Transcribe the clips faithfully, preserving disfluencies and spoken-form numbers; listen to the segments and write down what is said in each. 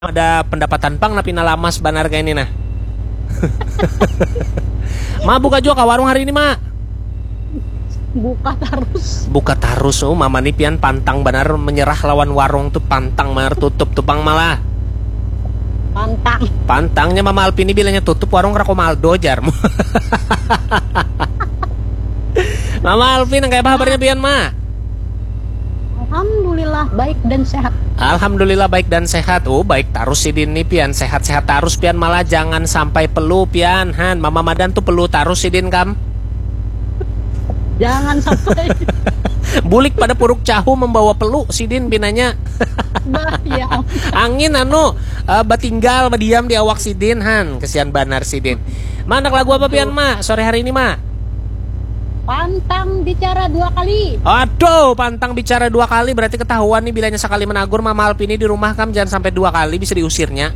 Ada pendapatan pang, nah pina lamas banar kaya ini nah. Ma, buka jua ka warung hari ini, Ma? Buka tarus. Buka tarus, oh, Mama ni pian pantang banar menyerah lawan warung tu, pantang banar tutup tu pang malah. Pantang. Pantangnya Mama Alpi ni bilanya tutup warung, Rakomaldo jar. Mama Alpi, nang kaya apa habarnya pian, Ma? Alhamdulillah, baik dan sehat. Alhamdulillah, baik dan sehat. Oh, baik tarus sidin ni pian, sehat-sehat tarus pian, malah jangan sampai pelu pian, han. Mama Madan tu pelu tarus sidin kam. Jangan sampai. Bulik pada Puruk Cahu membawa pelu sidin pinanya. Bah, ya. Angin anu, eh, batinggal, badiam di awak sidin, han. Kesian banar sidin. Ma, handak lagu apa pian, Ma, sore hari ini, Ma? Pantang bicara dua kali. Aduh, pantang bicara dua kali, berarti ketahuan nih bilanya sakali menagur, Mama Alpi ini di rumah kam, jangan sampai dua kali, bisa diusirnya.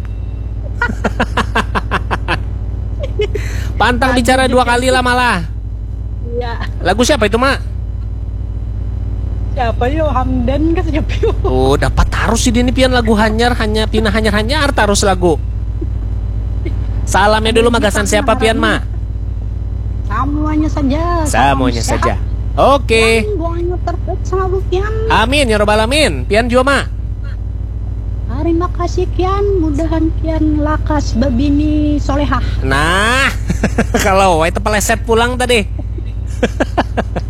Pantang bicara dua kali lah malah. Iya. Lagu siapa itu, Ma? Siapa yo? Hamdan kah siapa yo? Oh, dapat tarus sidin ni pian lagu hanyar, hanya pina hanyar-hanyar tarus lagu. Salamnya dulu, magasan siapa pian, Ma? Samuanya saja. Samuanya saja. Oke. Doanya terbaik selalu, Kian. Amin ya robbal alamin. Pian jua, Ma. Terima kasih, Kian. Mudahan Kian lakas babini solehah. Nah, kalau itu peleset pulang tadi.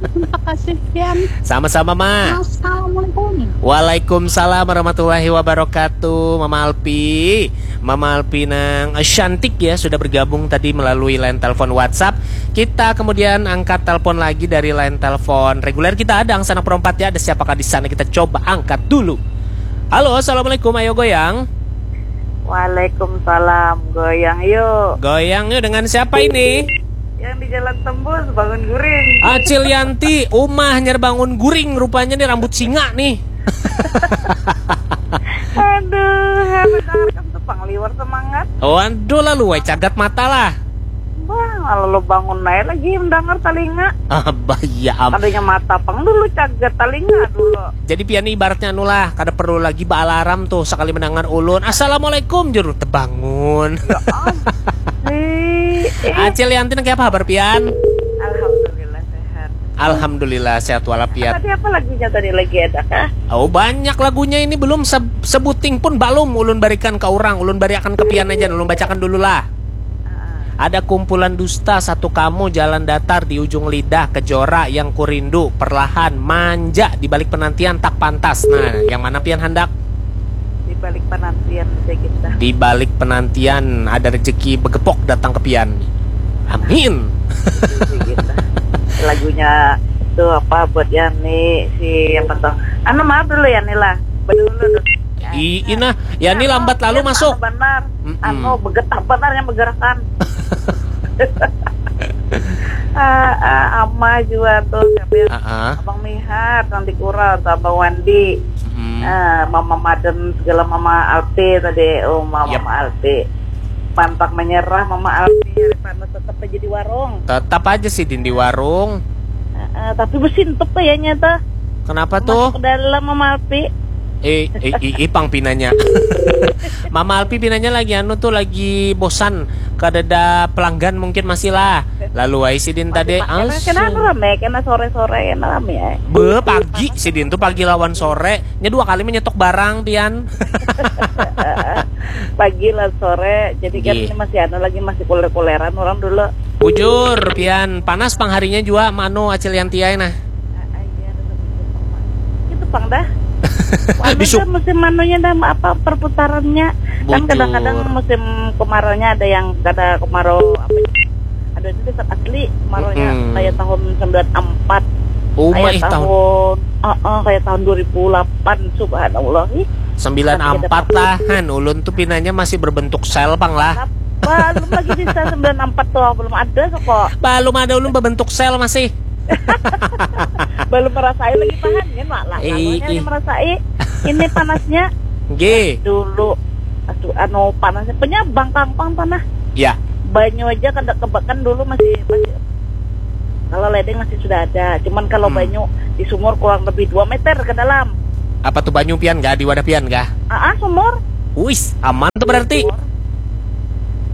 Terima kasih, Kian. Sama-sama, Ma. Assalamualaikum. Waalaikumsalam warahmatullahi wabarakatuh, Mama Alpi. Mama Alpi nang, eh, cantik ya, sudah bergabung tadi melalui line telepon WhatsApp. Kita kemudian angkat telepon lagi dari line telepon reguler kita. Ada Angsana Perompat ya, ada siapakah di sana? Kita coba angkat dulu. Halo, assalamualaikum, ayo goyang. Waalaikumsalam, goyang yuk. Goyang yuk, dengan siapa ini? Yang di Jalan Tembus, Bangun Guring. Acil Yanti, umah hanyar Bangun Guring, rupanya nih rambut singa nih. Aduh, mendengarkan tu pang liwar semangat. Waduh, lalu wai cagat mata lah. Bah, lalu bangun aja lagi mendengar talinga. Ah, bah, iya am. Tadinya mata pang dulu, cagat talinga dulu. Jadi pian ni ibaratnya anu lah, kada perlu lagi baalarm tuh, sakali mendengar ulun, "Assalamualaikum," juru tebangun. Ya am. Eh, eh. Acil Yanti, nang kaya apa habar pian? Alhamdulillah sehat. Alhamdulillah sehat walafiat. Tadi apa lagunya tadi lagi, ada kah? Oh, banyak lagunya ini, belum se-, sebuting pun balum ulun barikan ka urang, ulun bariakan ka pian aja, ulun bacakan dulu lah. Ah. Ada kumpulan dusta, satu kamu, jalan datar di ujung lidah, kejora yang kurindu, perlahan, manja di balik penantian, tak pantas. Nah, yang mana pian handak? Di balik penantian aja kita. Di balik penantian ada rezeki begepok datang ke pian. Amin. Itu sih kita. Lagunya tuh apa buat Yani, si apa tuh? Anu, maaf dulu Yani lah. Bedulu dulu. I, ina, Yani lambat lalu masuk. Anu benar. Mm-mm. Anu begetah benar yang bergerakan. Ah, ah, Ama juga tuh, siapa ya? Ah, ah. Abang Mihar, Abang Dikura, atau Abang Wandi. Mm-mm. Ah, Mama Maden segala, Mama Alpi tadi, oh, Mama, yep. Mama Alpi. Pantang menyerah, Mama Alpi, hari panas tetap aja di warung. Tetap aja sidin di warung. Ah, ah, tapi besintup kayaknya tuh. Kenapa tuh? Masuk ke dalam, Mama Alpi. Eh, eh, i, i, pang pinanya. Mama Alpi pinanya lagi anu tuh, lagi bosan. Kadada pelanggan mungkin masih lah. Lalu ai sidin tadi, kena, kena anu rame, kena sore-sore, kena rame ya. Be, pagi sidin tuh, pagi lawan sore. Nya dua kali menyetok barang, pian. Pagi lawan sore, jadi kan ini masih anu lagi, masih kuler-kuleran orang dulu. Bujur, pian. Panas pang harinya jua, manu, Acil Yanti ai nah. Ah, ah, iya, ada satu jam, Pak. Itu pang dah. Anu dah musim anunya dah, apa, perputarannya. Kan kadang-kadang musim kemaraunya ada yang kada kemarau, apa, ada itu dekat asli kemaraunya, mm-mm, kayak tahun sembilan empat. Oh, kayak tahun, tahun, ah, ah, kayak tahun dua ribu delapan, subhanallah. Ih, sembilan empat lah, han. Ulun tuh pinanya masih berbentuk sel pang lah. Belum lagi bisa sembilan empat tuh, belum ada kok. Belum ada, ulun berbentuk sel masih. Belum merasai lagi, tahan, kan, Mak? Lah, ih, lalunya ih. Merasai ini panasnya. Nggih. Dulu, aduh, anu, panasnya, punya bangkang pang tanah. Ya. Banyu aja kada kebakan dulu masih, masih. Kalau ledeng masih sudah ada, cuman kalau, hmm, banyu di sumur kurang lebih dua meter ke dalam. Apa tuh banyu pian kah? Di wadah pian kah? Ah, ah, sumur. Wis, aman tuh berarti.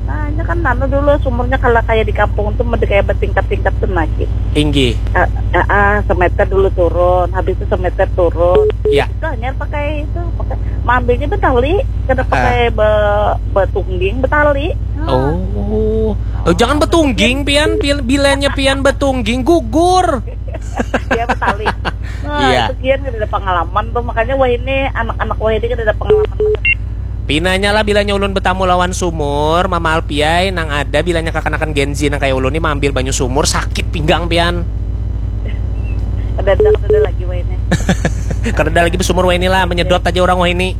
Nah, ini kan anu dulu sumurnya kalau kayak di kampung tuh mesti kayak bertingkat-tingkat tuh lagi. Inggih. Ah, ah, ah, semeter dulu turun, habis itu semeter turun. Ya. Itu hanya pakai itu, pakai, ambilnya betali, kada pakai be, betungging, betali. Nah. Oh. Oh, jangan betungging, pian. Bil-, bilanya pian betungging, gugur. Dia betali. Nah, iya. Itu kian kada ada pengalaman tuh, makanya wah ini anak-anak wah ini kada ada pengalaman. Pinanya lah, bilanya ulun betamu lawan sumur, Mama Alpiai, nang ada bilanya kakanakan Gen Z nang kayak ulun ni maambil banyu sumur, sakit pinggang pian. Kada ada, kada ada lagi wah ini. Kada ada lagi besumur wah ini lah, menyedot aja orang wah ini.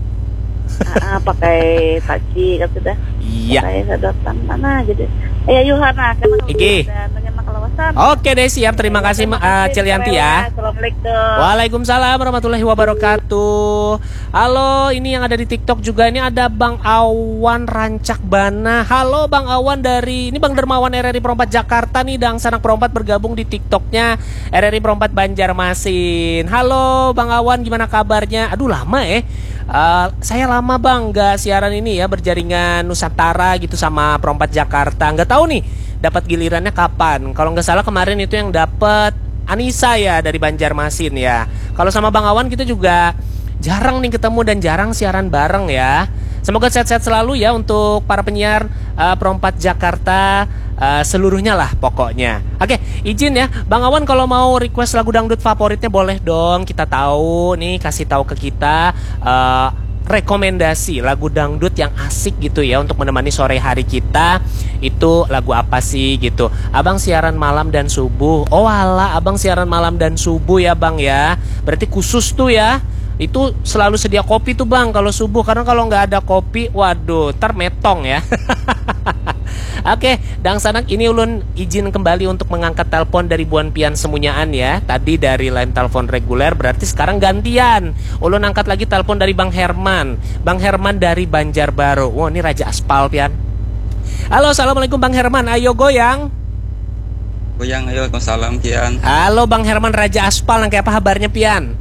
Ah, ah, pakai taci kan sudah. Iya. Pakai sedotan mana jadi. Ayo Yuhana, kan. Iki. Oke deh, siap. Terima kasih, Ma-, ah, Cilianti ya. Assalamualaikum. Waalaikumsalam warahmatullahi wabarakatuh. Halo, ini yang ada di TikTok juga. Ini ada Bang Awan Rancak Bana. Halo Bang Awan dari, ini Bang Dermawan R R I Perompat Jakarta nih, dangsanak Perompat bergabung di TikToknya R R I Perompat Banjarmasin. Halo Bang Awan, gimana kabarnya? Aduh, lama eh. Eh, saya lama Bang nggak siaran ini ya, berjaringan Nusantara gitu sama Perompat Jakarta. Nggak tahu nih dapat gilirannya kapan. Kalau nggak salah kemarin itu yang dapat Anissa ya dari Banjarmasin ya. Kalau sama Bang Awan kita juga jarang nih ketemu dan jarang siaran bareng ya. Semoga sehat-sehat selalu ya untuk para penyiar, eh, Perompat Jakarta, eh, seluruhnya lah pokoknya. Oke, izin ya, Bang Awan kalau mau request lagu dangdut favoritnya boleh dong. Kita tahu nih, kasih tahu ke kita, eh, rekomendasi lagu dangdut yang asik gitu ya untuk menemani sore hari kita. Itu lagu apa sih gitu? Abang siaran malam dan subuh. Oh alah, abang siaran malam dan subuh ya Bang ya. Berarti khusus tuh ya. Itu selalu sedia kopi tuh Bang kalau subuh, karena kalau nggak ada kopi, waduh, termetong ya. Oke, dangsanak, ini ulun izin kembali untuk mengangkat telepon dari buan pian semunyaan ya. Tadi dari line telepon reguler, berarti sekarang gantian. Ulun angkat lagi telepon dari Bang Herman. Bang Herman dari Banjarbaru. Wah, ini Raja Aspal pian. Halo, assalamualaikum Bang Herman. Ayo goyang. Goyang, ayo, waalaikumsalam, Kian. Halo Bang Herman Raja Aspal, nang kayak apa habarnya pian?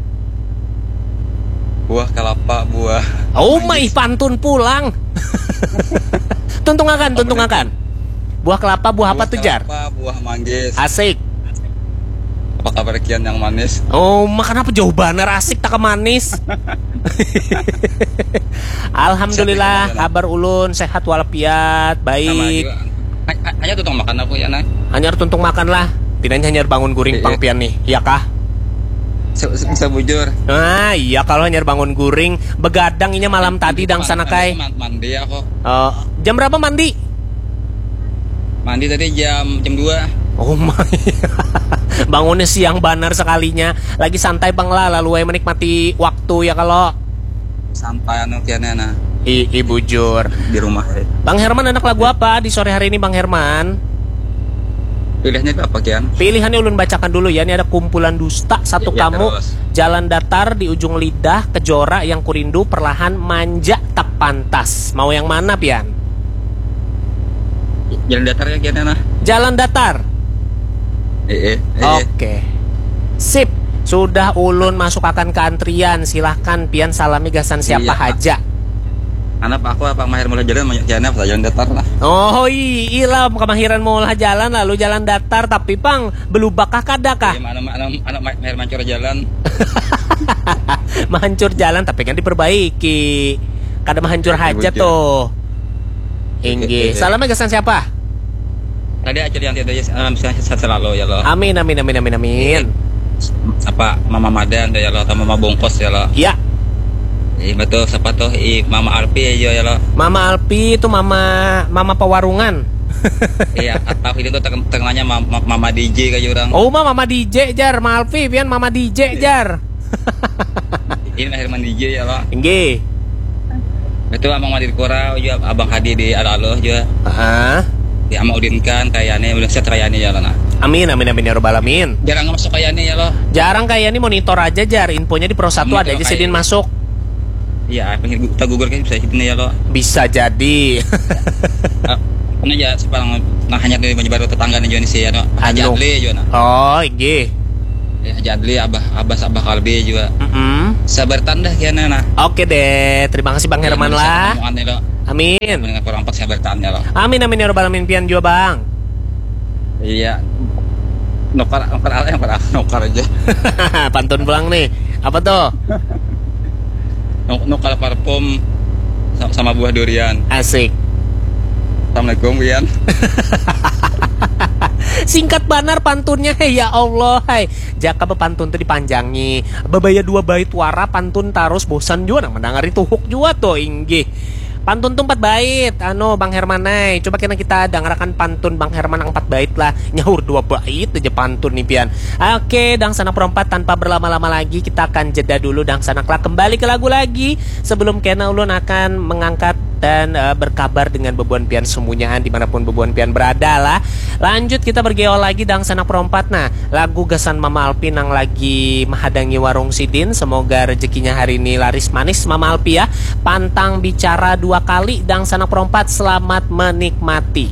Buah kelapa, buah. Oh, manggis. Maih pantun pulang. Tuntungakan, tuntungakan. Buah kelapa, buah apa tuh, Jar? Buah kelapa, buah manggis. Asik. Apa kabar Kian yang manis? Oh, makan apa jauh banar, asik tak manis. Alhamdulillah, sehat, kabar ulun sehat walafiat, baik. Sama juga. Ha-, ha-, hanya tuntung makan aku ya, nah. Hanyar tuntung makan lah. Pinanya hanyar bangun guring pang pian nih, ya kah? Se-, se-, sebujur. Nah, iya, kalau hanyar bangun guring, begadang inya malam tadi dangsanak ai. Man-, mandi aku. Eh, jam berapa mandi? Mandi tadi jam, jam dua. Oh my. Bangunnya siang banar sekalinya. Lagi santai pang lah, lalu ai menikmati waktu ya kalau. Santai anu kiannya nah. I, i bujur. Di rumah, eh. Bang Herman, anak lagu apa di sore hari ini, Bang Herman? Pilihannya itu apa, Kian? Pilihannya ulun bacakan dulu ya. Ini ada Kumpulan Dusta, Satu Kamu, terus. Jalan Datar, Di Ujung Lidah, Kejora, Yang Kurindu, Perlahan, Manja, Tak Pantas. Mau yang mana, pian? Jalan Datar ya, Kian, nah. Jalan Datar. Eh, eh, eh. Oke. Sip. Sudah ulun masuk akan ke antrian. Silahkan pian salami gasan siapa haja. Anak aku apa mahir mulai jalan banyak kiannya apa jalan datar lah. Oh, iya lah, kemahiran maulah jalan lalu jalan datar, tapi pang belubak kah kada kah? Iya, anak, anak, anak ma-, mahir mancur jalan. Mahancur jalan tapi kan diperbaiki. Kada mahancur haja tuh. Inggih. Salam gasan siapa? Tadi aja yang tidak, eh, sehat selalu ya lo. Amin, amin, amin, amin, amin. Apa Mama Madan ya lo atau Mama Bungkus ya lo? Iya. Iya betul, siapa tuh? I Mama Alpi ya, ya lo. Mama Alpi itu mama, mama pewarungan. Iya, atau ini tuh teng-, tengahnya ma-, ma-, Mama D J kayak orang. Oh, ma-, Mama D J jar, Ma Alpi pian Mama D J jar. Ini Herman D J ya lo. Inggih. Itu Abang Madir Kura juga, Abang Hadi di Alalo juga. Heeh. Ya, sama Udin kan kayaknya udah set kayaknya ya lo nah. Amin, amin, amin ya robbal alamin. Jarang masuk kayaknya ya lo. Jarang kayaknya, monitor aja jar, infonya di Pro Satu ada aja sidin masuk. Iya, pinggir gu-, tak gugur kan bisa sidin ya lo. Bisa jadi. Eh, karena ya sekarang nah hanya dari Banjarbaru tetangga nih juga nih sih ya lo. Haji Adli juga nah. Oh, inggih. Ya, Jadli, Abah, Abah, Abah Kalbi juga. Mm-mm. Sabar tanda kian nah. Oke deh, terima kasih Bang Herman lah. Amin. Amin. Dengan kurang pas sabar tanda lah. Amin, amin, ya robbal alamin, pian juga, Bang. Iya. Nukar, nukar apa yang nukar aja. Pantun pulang nih. Apa tuh? Nuk- Nukar parfum sa- sama buah durian. Asik. Assalamualaikum, Wian. Singkat banar pantunnya, hei, ya Allah, hai. Jaka bepantun tuh dipanjangi. Babaya dua bait wara pantun tarus, bosan juga nang mendangari, tuhuk juga tuh, inggih. Pantun tuh empat bait, anu, Bang Hermanai. Coba kena kita dangarakan pantun Bang Herman yang empat bait lah. Nyaur dua bait aja pantun nih, pian. Oke, dangsanak perempat, tanpa berlama-lama lagi, kita akan jeda dulu, dangsanak lah. Kembali ke lagu lagi sebelum kena ulun akan mengangkat dan eh, berkabar dengan bebuan pian semunyaan dimanapun bebuan pian berada lah. Lanjut kita bergeol lagi, dangsanak perompat. Nah, lagu gasan Mama Alpi nang lagi menghadangi warung sidin. Semoga rezekinya hari ini laris manis, Mama Alpi, ya. Pantang bicara dua kali, dangsanak perompat. Selamat menikmati.